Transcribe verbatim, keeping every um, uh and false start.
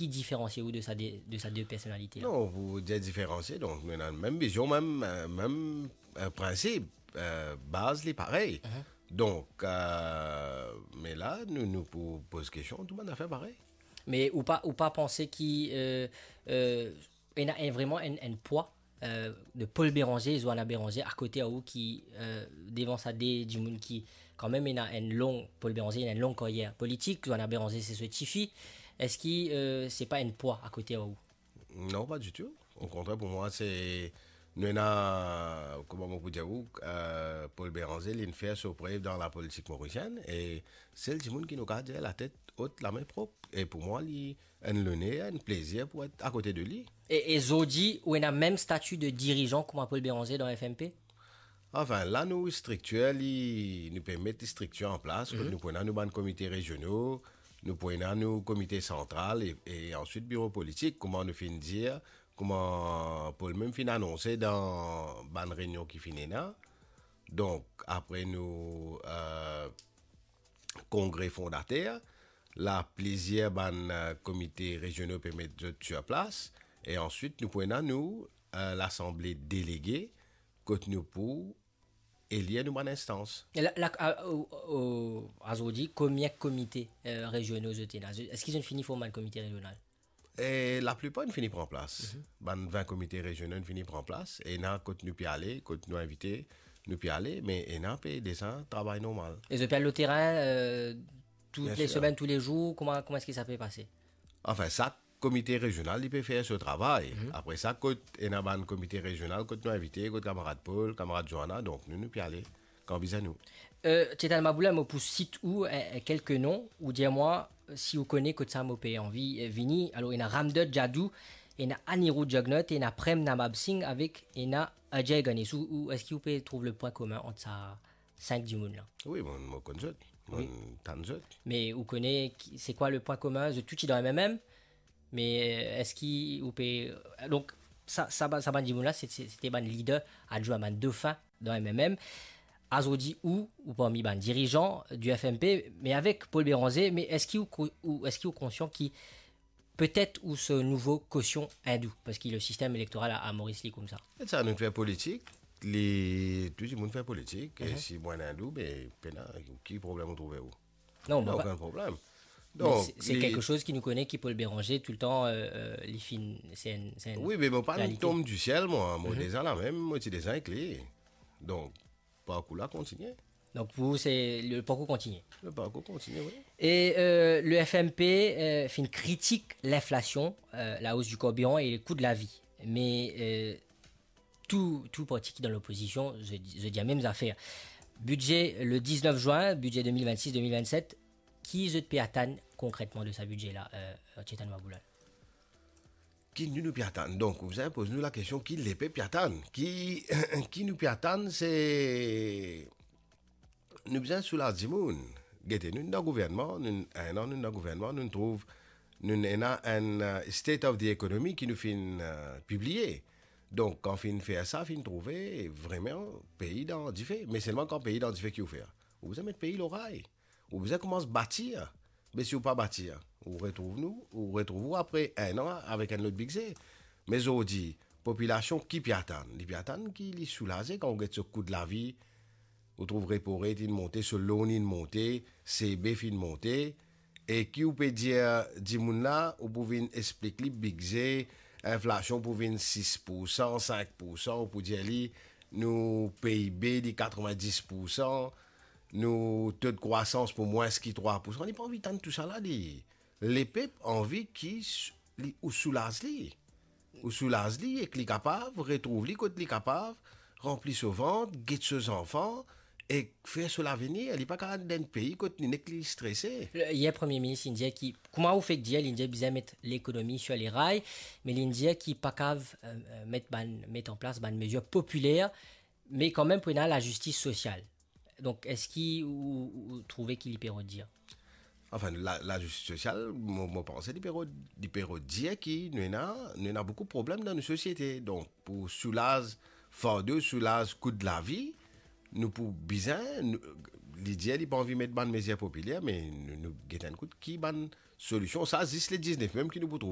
Ki diferansie ou de sa de, de sa de personalite la? Non, pou dir diferansie, donk nou ena mem vizion, mem, eh, mem, eh, prinsip, eh, baz li parey. Mhm. Donk, eh, me la, nou, nou pou poz kestion, tou bann zafer parey. Me ou pa, ou pa panse ki, eh, eh, ena enn, vreman enn, enn pwa, eh, de Paul Bérenger e Johanna Bérenger akote a ou ki, eh, devan sa de dimoun ki, kanmem, ena enn long, Paul Bérenger ena enn long karyer politik, Johanna Bérenger se so tifi. Eski, eh, se pa enn pwa akote a ou? Non, pa ditou. Okontrer, pou mwa, se, nou ena, kouma mo pou dir ou, eh, Paul Bérenger, li inn fer so prev dan lapolitik morisienn, e sel dimoun ki nou kav dir latet ot, lame prop. E pou mwa, li enn loner, enn plezir pou et akote de li. E, e zordi, ou ena mem stati de dirizan kouma Paul Bérenger dan F M P? Anfin, la nou striktir li, nou pe met striktir an plas, kot Mhm. nou pou ena nou bann komite reziono, nou pou ena nou komite santral, e, e answit biro politik, kouma nou finn dir, kouma Paul mem finn anonse dan bann reynion ki finn ena. Donk, apre nou, eh, kongre fondater, la plizir bann, eh, komite reziono pe met zot sir plas, e answit nou pou ena nou, eh, lasanble delege, kot nou pou elir nou bann instans. E la, la, a, o, o, azordi, konbien komite, eh, reziono zot ena? Zot, eski zot fini form bann komite rezional? E laplipar inn fini pran plas. Mhm. Bann vin komite rezional inn fini pran plas. Ena kot nou pe ale, kot nou invite, nou pe ale, me ena pe deza travay normal. E zot pe al lor terin, eh, tou Bien le sir. semenn, tou le zour, kouma, kouma eski sa pe pase? Anfin, sak komite rezional, li pe fer so travay. Mhm. Apre sa, kot ena bann komite rezional, kot nou invite, kot kamarad Paul, kamarad Johanna, donk nou, nou pe ale kan bizin nou. Eh, Chetan Maboulla, mo pou sit ou, eh, eh, kelke non, ou dir mwa, eh, si ou kone kot sa mo pe anvi, eh, vini. Alor, ena Ramdot Jadoo, ena Anirudh Jugnauth, ena Prem Nabab Singh avek ena Ajay Ganesh. Ou, ou, eski ou pe trouv le pwin komin ant sa sink dimoun la? Wi, mo, mo konn zot, mo Wi. tann zot. Me ou kone ki, se kwa le pwin komin? Zot tou ti dan M M M? Me, eh, eski ou pe, donk, sa, sa ba-, sa bann dimoun la, se, se, se te bann lider adwin, bann dofin dan M M M. Azordi, ou, ou parmi bann dirizan du F M P, me avek Paul Bérenger, me eski ou ko-, ou, eski ou konsian ki petet ou so nouvo kosion indou, parski le sistem elektoral a, a Moris li koumsa? E sa, nou fer politik, li, tou dimoun fer politik, e Mhm. si mwa indou, be, pena, ki problem ou trouve ou? Non, Ena mo pa okenn problem. Me Donk, se, se li kelke soz ki nou kone ki Paul Bérenger toultan, eh, eh, li finn, se enn, se enn Wi, me mo pa realite. Tom di siel, mwa. Mo Mhm. deza lamem, mo ti deza ek li. Donk, parkour la kontigne. Donk, pou ou, se le parkour kontigne. Le parkour kontigne, wi. E, eh, le F M P, eh, finn kritik linflasion, eh, la hausse du carburant et le coût de la vie. Me, eh, tou, tou parti ki dan lopozision, zot, zot dir mem zafer. Bidze le diznef zin, bidze de mil vennsis de mil vennset, ki zot pe atann konkretman de sa bidze la, eh, Chetan Maboulla? Ki nou, nou pe atann? Donk, ou bizin poz nou lakestion, ki lepep pe atann? Ki, ki nou pe atann, se nou bizin soulaz dimoun. Gete, nou dan gouvernman, nou, enn an nou dan gouvernman, nou trouv, nou ena enn, eh, State of the Economy ki nou finn, eh, pibliye. Donk, kan finn fer sa, finn trouve vreman pei dan dife. Me selman kan pei dan dife, ki ou fer? Ou bizin met pei lor ray. Ou bizin koumans batir. Me si ou pa batir, ou retrouv nou, ou retrouv ou apre enn an avek enn lot bidze. Me zordi, popilasion ki pe atann? Li pe atann ki li soulaze kan ou get so kou de lavi, ou trouv repo rate inn monte, so loan inn monte, C B finn monte, e ki ou pe dir dimoun la, ou pou vinn explik li bidze, inflasion pou vinn sis poursan, sink poursan, ou pou dir li, nou P I B li katrevin-dis poursan, nou to de krwasans pou mwins ki trwa poursan, li pa anvi tann tousala, li. Lepep anvi ki s-, li, ou soulaz li. Ou soulaz li ek li kapav retrouv li kot li kapav ranpli so vant, get so zanfan ek fer so lavenir. Li pa kapav dan enn pei kot li nek li strese. Yer Premie Minis inn dir ki, kouma ou fek dir, li inn dir bizin met lekonomi sur les rails, me li inn dir ki pa kapav, eh, eh, met bann, met an plas bann mezir popiler, me kanmem pou ena lazistis sosial. Donk, eski ou, ou, ou trouve ki li pe rod dir? Anfin, la, lazistis sosial, mo, mo panse li pe rod, li pe rod dir ki nou ena, nou ena boukou problem dan nou sosiete. Donk, pou soulaz fardo, soulaz kou de lavi, nou pou bizin, nou, li dir li pa anvi met bann mezir popiler, me nou, nou get enn kout ki bann solision. Sa zis le diznef mem ki nou pou trouve.